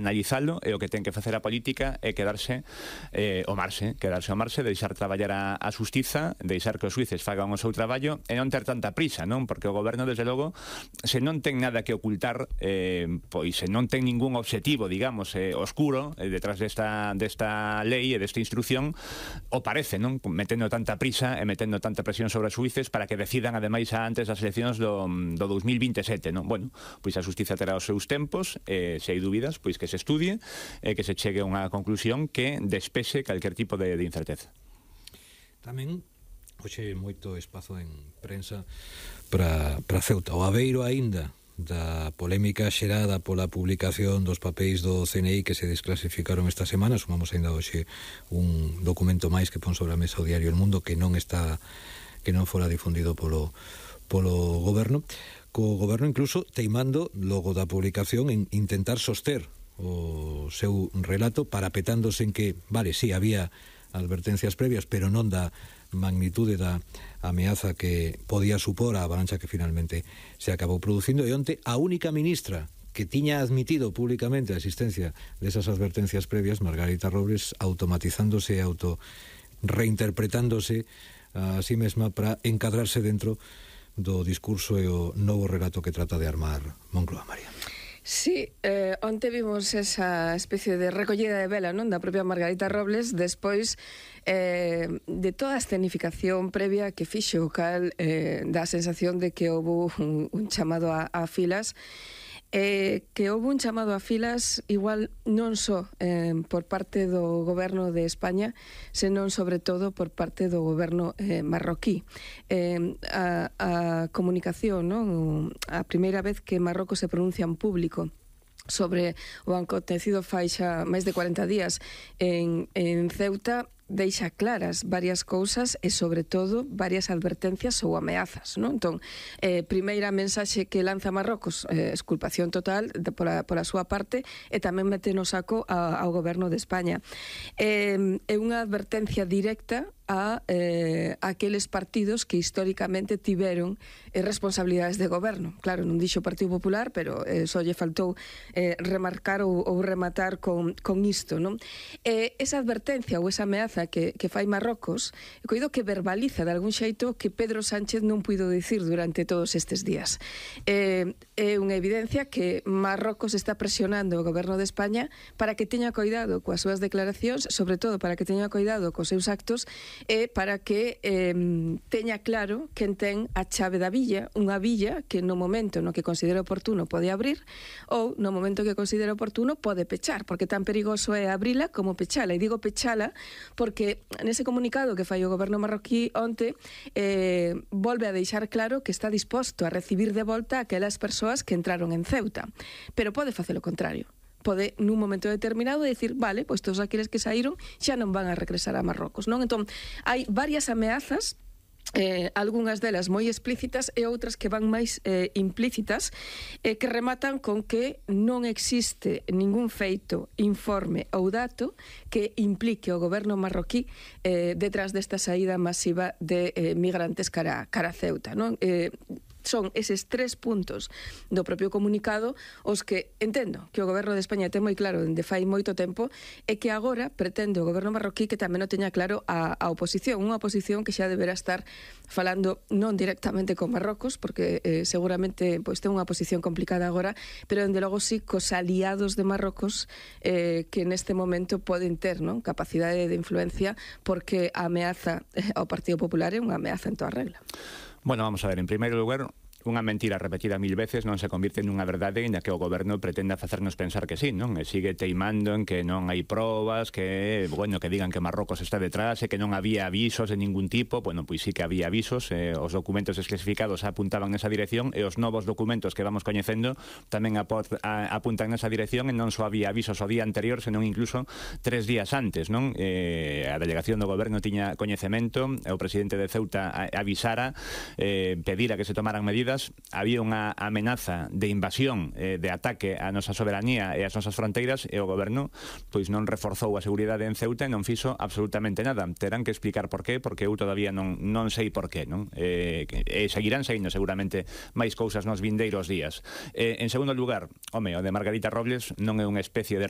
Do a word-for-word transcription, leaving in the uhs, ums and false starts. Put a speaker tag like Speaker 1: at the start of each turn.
Speaker 1: analizalo, e o que ten que facer a política é quedarse eh, o marxe, quedarse o marxe, deixar traballar a, a xustiza, deixar que os xuíces fagan o seu traballo e non ter tanta prisa, non? Porque o goberno, desde logo, se non ten nada que ocultar, eh, pois se non ten ningún obxectivo, digamos, eh, oscuro eh, detrás desta, desta lei e desta instrucción, o parece, non? Metendo tanta prisa e metendo tanta presión sobre os xuíces para que decidan, ademais, antes das eleccións do, do dous mil vinte e sete, non? Bueno, pois a xustiza terá os seus tempos, e se hai dúbidas, pois que se estudie e que se chegue a unha conclusión que despexe calquer tipo de, de incerteza.
Speaker 2: Tamén, hoxe, moito espazo en prensa para, para Ceuta. O Aveiro aínda da polémica xerada pola publicación dos papéis do C N I que se desclasificaron esta semana. Sumamos aínda hoxe un documento máis que pon sobre a mesa o diario El Mundo, que non está, que non fora difundido polo, polo goberno, co goberno incluso teimando logo da publicación en intentar soster o seu relato, parapetándose en que, vale, sí, había advertencias previas, pero non da magnitude da ameaza que podía supor a avalancha que finalmente se acabou producindo. E onte a única ministra que tiña admitido públicamente a existencia desas advertencias previas, Margarita Robles, automatizándose e auto reinterpretándose a sí mesma para encadrarse dentro do discurso e o novo relato que trata de armar Moncloa. María.
Speaker 3: Sí, eh, onte vimos esa especie de recollida de vela, non, da propia Margarita Robles, despois eh, de toda a escenificación previa que fixo, o cal eh, dá a sensación de que houve un, un chamado a, a filas, eh, que houve un chamado a filas igual non só eh, por parte do goberno de España, senón sobre todo por parte do goberno eh, marroquí. Eh, a, a comunicación, non? A primeira vez que Marrocos se pronuncia en público sobre o acontecido fai xa máis de cuarenta días en, en Ceuta, deixa claras varias cousas e, sobre todo, varias advertencias ou ameazas, non? Entón, eh, primeira mensaxe que lanza Marrocos, eh, exculpación total de, pola, pola súa parte, e tamén mete no saco a, ao goberno de España. Eh, é unha advertencia directa a eh, aqueles partidos que históricamente tiveron eh, responsabilidades de goberno. Claro, non dixo o Partido Popular, pero eh, só lle faltou eh, remarcar ou, ou rematar con, con isto, non? Eh, esa advertencia ou esa ameaza que, que fai Marrocos, coido que verbaliza de algún xeito que Pedro Sánchez non puido dicir durante todos estes días. Eh, é unha evidencia que Marrocos está presionando o goberno de España para que teña cuidado coas súas declaracións, sobre todo para que teña cuidado cos seus actos, e para que eh, teña claro quen ten a chave da villa, unha villa que no momento no que considera oportuno pode abrir, ou no momento que considera oportuno pode pechar, porque tan perigoso é abrila como pechala. E digo pechala porque nese comunicado que fai o goberno marroquí onte eh, volve a deixar claro que está disposto a recibir de volta aquelas persoas que entraron en Ceuta, pero pode facer o contrario. Pode nun momento determinado decir, vale, pois todos aqueles que saíron xa non van a regresar a Marrocos, non? Entón, hai varias ameazas, eh, algunhas delas moi explícitas e outras que van máis eh, implícitas, eh, que rematan con que non existe ningún feito, informe ou dato que implique o goberno marroquí eh, detrás desta saída masiva de eh, migrantes cara, cara a Ceuta, non? Eh, son eses tres puntos do propio comunicado os que entendo que o goberno de España ten moi claro dende fai moito tempo, e que agora pretende o goberno marroquí que tamén o teña claro a, a oposición, unha oposición que xa deberá estar falando non directamente con Marrocos, porque eh, seguramente pois ten unha posición complicada agora, pero dende logo sí cos aliados de Marrocos eh, que neste momento poden ter, non, capacidade de influencia, porque a ameaza ao Partido Popular é unha ameaza en toda regla.
Speaker 1: Bueno, vamos a ver, en primeiro lugar, unha mentira repetida mil veces non se convirte nunha verdade na que o goberno pretenda facernos pensar que sí, non? E sigue teimando en que non hai probas, que, bueno, que digan que Marrocos está detrás e que non había avisos de ningún tipo. Bueno, pois sí que había avisos, eh, os documentos desclasificados apuntaban nesa dirección, e os novos documentos que vamos coñecendo tamén aport, a, apuntan nesa dirección, e non só había avisos o día anterior, senón incluso tres días antes, non? Eh, a delegación do goberno tiña coñecemento, o presidente de Ceuta avisara, eh, pedira que se tomaran medidas. Había unha amenaza de invasión, eh, de ataque á nosa soberanía e ás nosas fronteiras, e o goberno pois non reforzou a seguridade en Ceuta e non fixo absolutamente nada. Terán que explicar por qué, porque eu todavía non, non sei por qué, non? Eh, e seguirán saindo seguramente máis cousas nos vindeiros días. Eh, en segundo lugar, home, o de Margarita Robles non é unha especie de